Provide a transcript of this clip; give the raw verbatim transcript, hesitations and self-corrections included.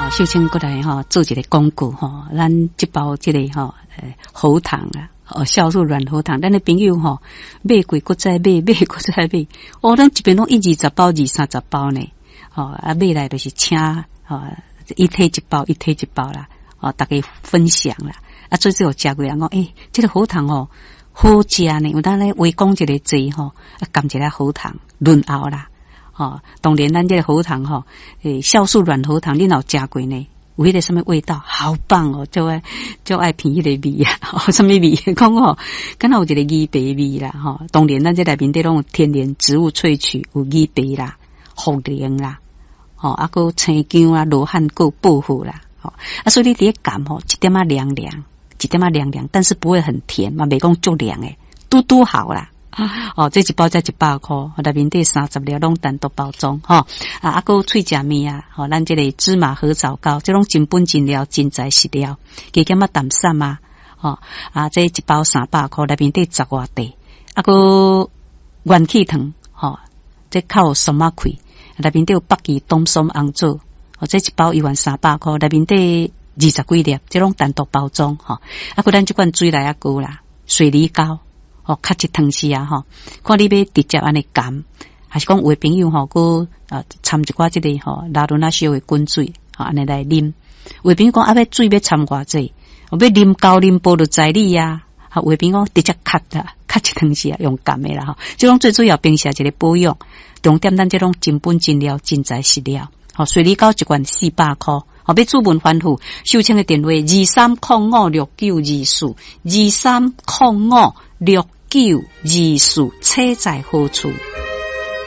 吼，秀清閣來吼做一个廣告吼，咱這包這个吼，喉糖啊，哦，酵素軟喉糖，咱的朋友吼買過閣再買，買過再買，哦，咱這邊攏一二十包、二三十包呢，吼啊買來就是請，吼伊提一包，伊提一包啦，哦，大家分享啦，啊，最主要食過人講，欸，這個喉糖哦好食呢，有當咧話講一个濟吼，啊，含一个喉糖潤喉啦。吼，當然咱這个喉糖吼，欸，酵素軟喉糖，你若有食過呢？有彼个啥物味道？好棒哦！就愛就愛聞彼个味啊！啥物味？講吼，敢若有一个魚皮味啦！吼，當然咱這內面底攏有天然植物萃取，有魚皮啦、茯苓啦，吼，啊，閣生薑啊、羅漢果、薄荷啦，吼，啊，所以你佇咧含吼，一點仔涼涼，一點仔涼涼，但是不會很甜嘛，袂講足涼的，拄拄好啦。哦，這一包才一百箍，內面底三十粒攏單獨包裝，吼啊，啊，閣喙食物啊，吼，咱這个芝麻核棗糕，這攏真本真料，真材實料，加減仔淡散啊，吼啊，這一包三百箍，內面底十外塊，啊，閣元氣糖，吼，這較有酸仔氣，內面底有北芪、冬筍、紅棗，哦，這一包一萬三百箍，內面底二十幾粒，這攏單獨包裝，吼，啊，閣咱這款水來仔糕啦，水梨糕。哦，較一湯匙啊，吼，看你欲直接按呢含，還是講有的朋友吼，閣啊摻一寡這个吼拉圇仔燒的滾水，吼按呢來啉。有的朋友講啊，欲水欲摻偌濟，欲啉厚啉薄就在你啊。啊，有的朋友講直接較啦，較一湯匙啊，用含的啦吼。這種最主要平時一个保養，重點咱這種真本真料、真材實料。吼，水梨糕一罐四百箍。吼，欲諮問翻覆，秀清的電話二三空五六九二四，二三空五六九二四，車在何處？